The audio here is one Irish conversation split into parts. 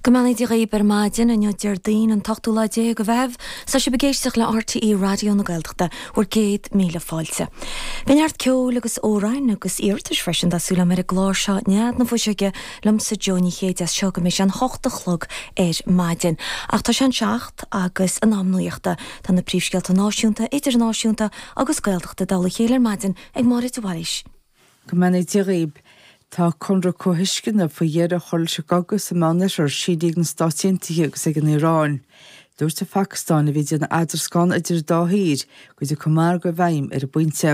Go mbeannaí Dia dhaoib ar maidin, inniu Déardaoin an t-ochtú lá déag de Mheitheamh. Tá sibh ag éisteacht le RTÉ Raidió na Gaeltachta, bhur gcéad míle fáilte. Beidh neart ceoil agus amhráin agus iarratais freisin tá súil agam ar an gclár seo Nead na Fuiseoige liomsa Joe Ní Chéide as seo go mbeidh sé an hocht a chlog ar maidin. Ach tá sé an seacht agus in am nuachta. Tá na príomhscéalta náisiúnta, idirnáisiúnta agus Gaeltachta i dtoll a chéile ar maidin ag Máire de Bhailís. Go mbeannaí Dia dhaoib. Tá conradh comhthuisceana faoi dheireadh a chur leis an gcogadh sa Meánoirthear sínithe ag na Stáit Aontaithe agus ag an Iaráin. Dúirt an Phacastáin, a bhí ag déanamh eadroscán idir an dá thír, go dtiocfaidh margadh i bhfeidhm ar an bpointe.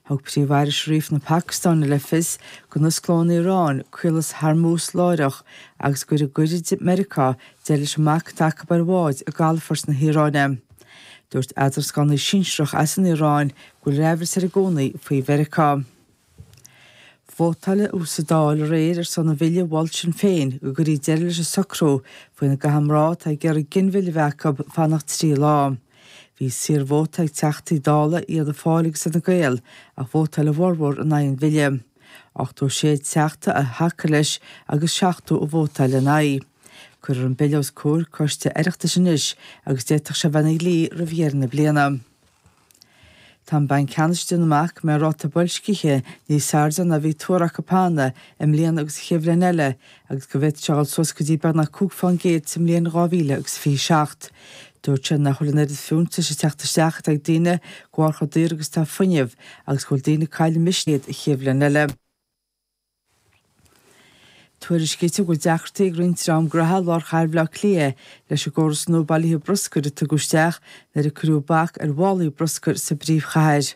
Thug Príomh-Aire Sharif na Pacastáine le fios go n-osclóidh an Iaráin Caolas Hormuz láithreach agus go gcuirfidh Meiriceá deireadh leis an mbac atá acu ar bháid i gcalafort na hIaráine. Dúirt eadroscánaí sinsearach as an Iaráin go bhfuil aimhreas air i gcónaí faoi Mheiriceá. Vótáladh sa Dáil aréir ar son an bhille a mhol Sinn Féin go gcuirfí deireadh leis an socrú faoina gcaithfidh mná atá ag iarraidh ginmhilleadh a bheith acu fanacht 3 lá. Bhí saorvóta ag Teachtaí Dála Fhianna Fáil agus Fhine Gael ach vótáil a bhformhór in aghaidh an bhille. 86 teachta a thacaigh leis agus 70 a vótáil ina aghaidh. Cuirfear an bille os comhair coiste Oireachtais anois agus d'fhéadfadh sé a bheith ina dhlí roimh dheireadh na bliana. Tá an Banc Ceannais ag déanamh amach go mbeidh ráta boilscithe níos airde ná a bhí tuartha acu cheana i mbliana agus an chéad bhliain eile agus go bhféadfadh sé a dhul suas go dtí beagnach 5 fán gcéad sa mbliain 2027. Dúirt sé nach bhfuil an oiread fiúntais ag teacht isteach atá ag daoine de bharr chomh daor agus atá fuinneamh agus go bhfuil daoine ag cailleadh misnigh an chéad bhliain eile. Tuairiscítear go bhfuil deacrachtaí ag roinnt dream gnoithe i lár chathair Bhaile Átha Cliath leis an gcóras nua bailithe bruscair a tugadh isteach nuair a cuireadh bac ar mhálaí bruscair sa bpríomhchathair.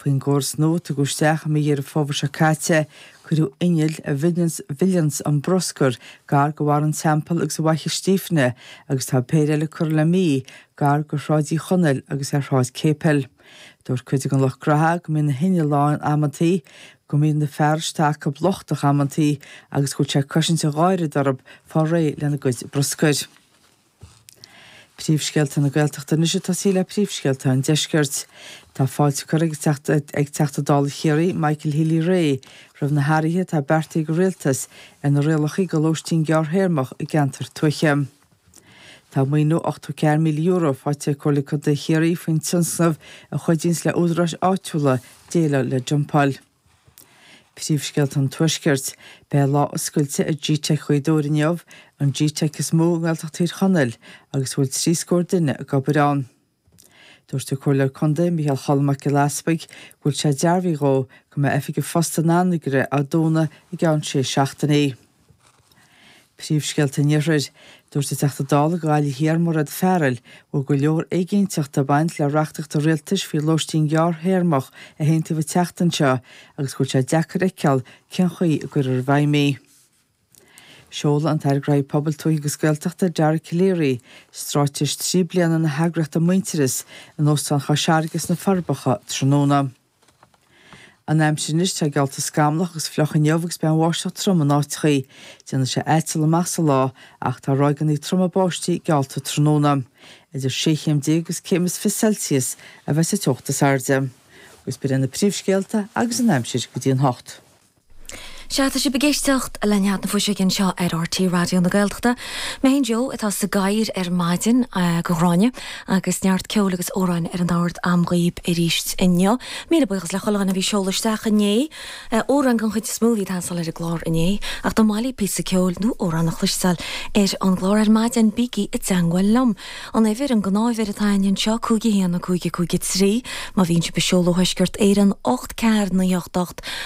Faoin gcóras nua a tugadh isteach i mí Dheireadh Fómhair seo caite, cuireadh innill a mhilleanns an bruscar gar do Bharra an Teampaill agus ar Fhaiche Stífne agus tá péire eile curtha le mí gar do Shráid Uí Chonaill agus ar Shráid Céipil. Dúirt cuid den lucht gnoithe go mbíonn na hinnill lán amantaí, go mbíonn na fearais atá acu lochtach amantaí agus go bhfuil sé ag cosaint an gháire orthu fáil réidh lena gcuid bruscair. Príomhscéalta na Gaeltachta anois ag tosaí le príomhscéalta an Deiscirt. Tá fáilte curtha ag Teachta Dála Chiarraí, Michael Healy-Rae, roimh na hathruithe atá beartaithe ag an Rialtas ar na rialacha do lóistín gearrthéarmach i gceantair tuaithe. Tá maoiniú €84,000 faighte ag Comhairle Contae Chiarraí faoin tionscnamh a chuidíonns le údaráis áitiúla déileáil le dumpáil. Príomhscéalta an Tuaiscirt. Beidh lá oscailte ag Gteic Ghaoth Dobhair inniu, an Gteic is mó i nGaeltacht Thír Chonaill agus a bhfuil trí scór duine ag obair ann. Dúirt an Comhairleoir Contae, Micheál Cholm Mac Giolla Easpaig, go bhfuil sé dearbhaithe dhó go mbeidh Oifig an Phosta in Anagaire á dúnadh i gceann sé seachtainí. Príomhscéalta an Iarthair. Dúirt an Teachta Dála do Ghaillimh Thiar, Mairéad Farrell, go bhfuil go leor éiginnteachta ag baint le reachtaíocht an Rialtais faoi lóistín gearrthéarmach a haontaíodh an tseachtain seo agus go bhfuil sé deacair a fheiceáil cén chaoi a gcuirfear i bhfeidhm í. Seolfaidh an tAire Gnóthaí Pobail, Tuaithe agus Gaeltachta, Dara Calleary, straitéis 3 bliana na heagraíochta Muintearas in Óstán Chois Fharraige sna Forbacha tráthnóna. An aimsir anois, tá geallta scamallach agus fliuch inniu agus beidh an bháisteach trom in áiteachaí. Déanfaidh sé aiteal amach sa lá ach tá ráigeanna troma báistí geallta tráthnóna. Idir 16 chéim agus céim is 20 Celsius a bheas an teocht is airde. Agus b'in iad na príomhscéalta agus an aimsir go dtí an hocht. Sea, tá sibh ag éisteacht le Nead na Fuiseoige anseo ar RTÉ Raidió na Gaeltachta. Mé féin Joe atá sa gcathaoir ar maidin do Ghráinne agus neart ceoil agus amhráin ar an ord a'm dhaoib arís inniu. Míle buíochas le chuile dhuine a bhí ag seoladh isteach inné. Amhráin den chuid is mó a bhí ag teastáil ar an gclár inné ach dá mba mhaith libh píosa ceoil nó amhrán a chloisteáil ar an gclár ar maidin bígí i dteangmháil liom. An uimhir, an gnáthuimhir atá againn anseo, 5 1 5 5 3, má bhíonn sibh ag seoladh ó Thuaisceart Éireann, 8 4 9 8 8.